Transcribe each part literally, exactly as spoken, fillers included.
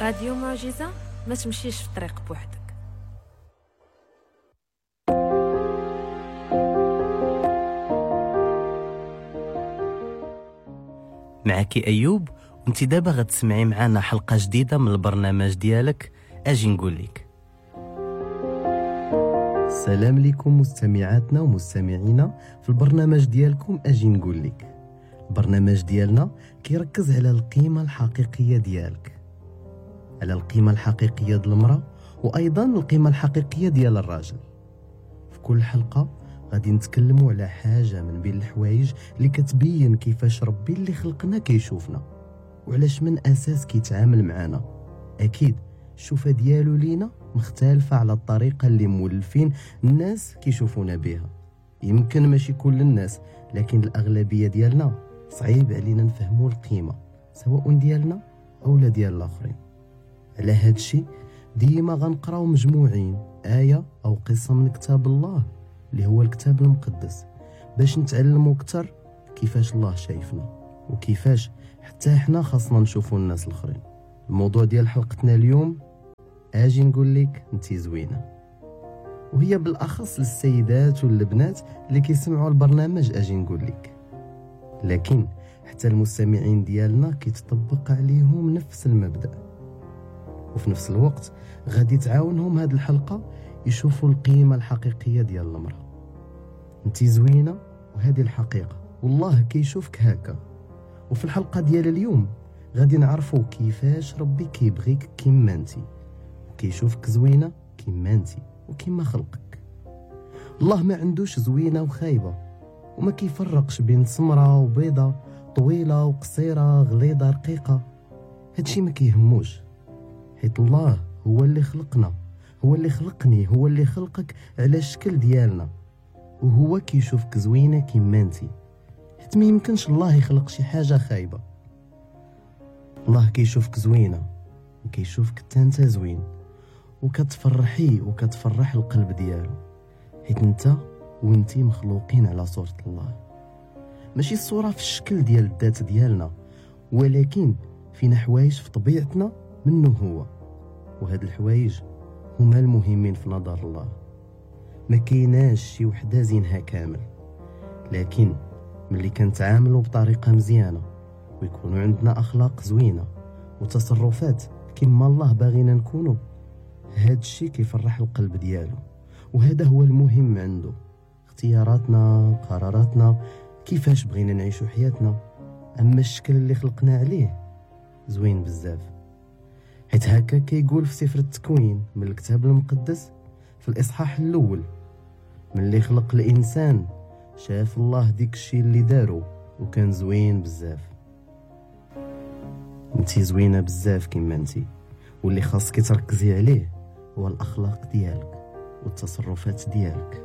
راديو معجزة، ما تمشيش في الطريق بوحدك. معك أيوب، وانت دابا غتسمعي معنا حلقة جديدة من البرنامج ديالك أجي نقول لك. السلام لكم مستمعاتنا ومستمعينا في البرنامج ديالكم أجي نقول لك. البرنامج ديالنا كيركز على القيمة الحقيقية ديالك، على القيمة الحقيقية ديال المرأة وأيضا القيمة الحقيقية ديال الراجل. في كل حلقة غادي نتكلموا على حاجة من بين الحوايج اللي كتبين كيفاش ربي اللي خلقنا كيشوفنا وعلاش من أساس كيتعامل معنا. أكيد الشوفة ديالو لينا مختلفة على الطريقة اللي مولفين الناس كيشوفونا بها. يمكن ماشي كل الناس، لكن الأغلبية ديالنا صعيب علينا نفهموا القيمة سواء ديالنا أو لا ديال الآخرين. على هاد الشيء ديما غنقراو مجموعين آية أو قصة من كتاب الله اللي هو الكتاب المقدس باش نتعلموا أكثر كيفاش الله شايفنا وكيفاش حتى حنا خاصنا نشوفوا الناس الآخرين. الموضوع ديال حلقتنا اليوم اجي نقول لك انتي زوينة، وهي بالاخص للسيدات والبنات اللي كيسمعوا البرنامج اجي نقول لك، لكن حتى المستمعين ديالنا كيتطبق عليهم نفس المبدا، وفي نفس الوقت غادي تعاونهم هاد الحلقة يشوفوا القيمة الحقيقية ديال المراة. انتي زوينة وهذه الحقيقة، والله كيشوفك هكا. وفي الحلقة ديال اليوم غادي نعرفوا كيفاش ربي كيبغيك كيما انتي وكيشوفك زوينة كيما انتي وكيما خلقك. الله ما عندوش زوينة وخايبه، وما كيفرقش بين سمراء وبيضه، طويلة وقصيره، غليظة رقيقه. هادشي ما كيهموش، حيت الله هو اللي خلقنا، هو اللي خلقني، هو اللي خلقك على الشكل ديالنا، وهو كيشوفك زوينة كيما انتي، حيت ما يمكنش الله يخلق شي حاجة خايبة. الله كيشوفك زوينة وكيشوفك حتى انت زوين، وكتفرحي وكتفرح القلب ديالو، حيت انت وانتي مخلوقين على صورة الله. ماشي الصورة في الشكل ديال الذات ديالنا، ولكن فينا حوايج في طبيعتنا منه هو، وهاد الحوايج هما المهمين في نظر الله. ما كايناش شي وحده زينها كامل، لكن ملي كنتعاملوا بطريقة مزيانه ويكونوا عندنا اخلاق زوينة وتصرفات كما الله باغينا نكونوا، هاد الشيء كيفرح القلب ديالو، وهذا هو المهم عنده. اختياراتنا، قراراتنا، كيفاش بغينا نعيشوا حياتنا. اما الشكل اللي خلقنا عليه زوين بزاف، حيت هكا كيقول في سفر التكوين من الكتاب المقدس في الاصحاح الاول، ملي خلق الانسان شاف الله ديك الشيء اللي دارو وكان زوين بزاف. انتي زوينة بزاف كما انتي، واللي خاصك تركزي عليه هو الاخلاق ديالك والتصرفات ديالك،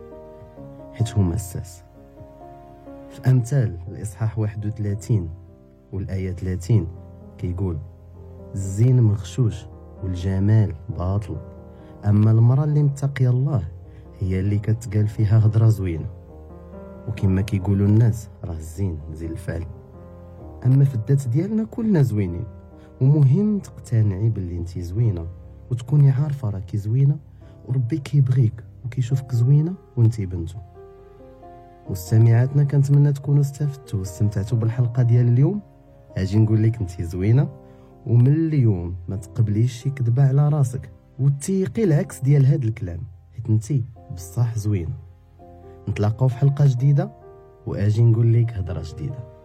حيت هما الاساس. في امثال الاصحاح واحد وثلاثين والايه ثلاثين كيقول: الزين مغشوش والجمال باطل، اما المراة اللي متقيه الله هي اللي كتقال فيها هضره زوينة. وكما كيقولوا الناس راه الزين زين الفعل. اما في الذات ديالنا كلنا زوينين، ومهم تقتنعي باللي انتي زوينة وتكوني عارفه راكي زوينة وربي كيبغيك وكيشوفك زوينة وانتي بنته. مستمعاتنا كنتمنى تكونوا استفدتوا واستمتعتوا بالحلقة ديال اليوم. اجي نقول لك انتي زوينة، ومن اليوم ما تقبليش شي كذبه على راسك وتيقي العكس ديال هاد الكلام، حيت انتي بصح زوينة. نتلاقاو في حلقة جديدة واجي نقول لك هضره جديدة.